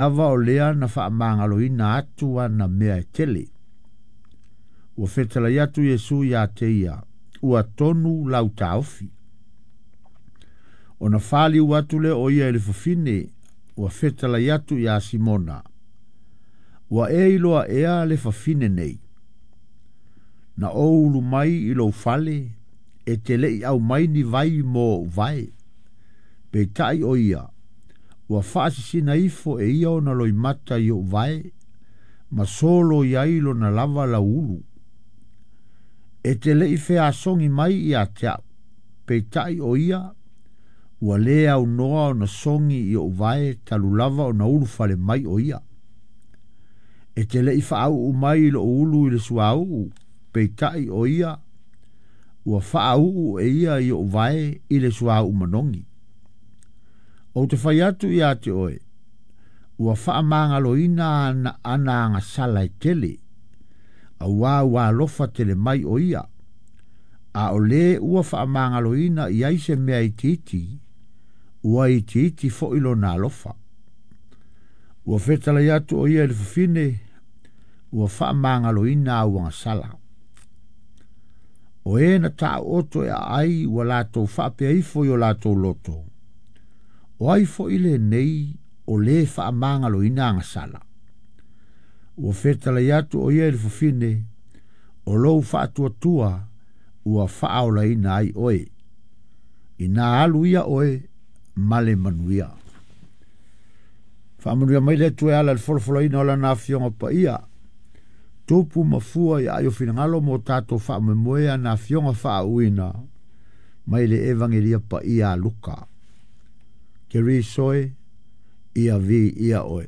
Lava o lea na faamagaloina atu ana mea e tele. Ua fetalai atu Iesu iā te ia, ua tonu lau taofi. Ona faliu atu lea o ia i le fafine, ua fetalai atu iā Simona, Ua e iloa ea le fafine nei? Na ou ulu mai i lou fale, e te le i aumai ni vai mo ou vae. Peitai o ia, ua faasisina ifo e ia ona loimata i ou vae, ma solo i ai lona lava lauulu. E te le i feasogi mai ia te au, peitai o ia, ua lē aunoa ona sogi i ou vae talu lava ona ulufale mai o ia. E te le i faauu mai i lou ulu i le suauu, peitai o ia, ua faauu e ia i ou vae i le suauu manogi. Ou te fai atu ia te oe, ua faamagaloina ana ana agasala e tele, auā ua alofa tele mai o ia, a o lē ua faamagaloina i ai se mea itiiti, ua itiiti foi lona alofa. Ua fetalai atu o ia i le fafine, ua faamagaloina au agasala. O e na taooto e aai ua latou faapea ifo i o latou loto, o ai foi lenei o lē faamagaloina agasala? Ua fetalai atu o ia i le fafine, o lou faatuatua ua faaolaina ai oe. Inā alu ia oe ma le manuia. Faamanuia mai le Atua e ala i le folafolaina o Lana Afioga Paia, tupu ma fua i aai o finagalo mo tatou faamoemoe ana Afioga faauuina mai le Evagelia Paia a Luka. Keriso e, ia viia oe.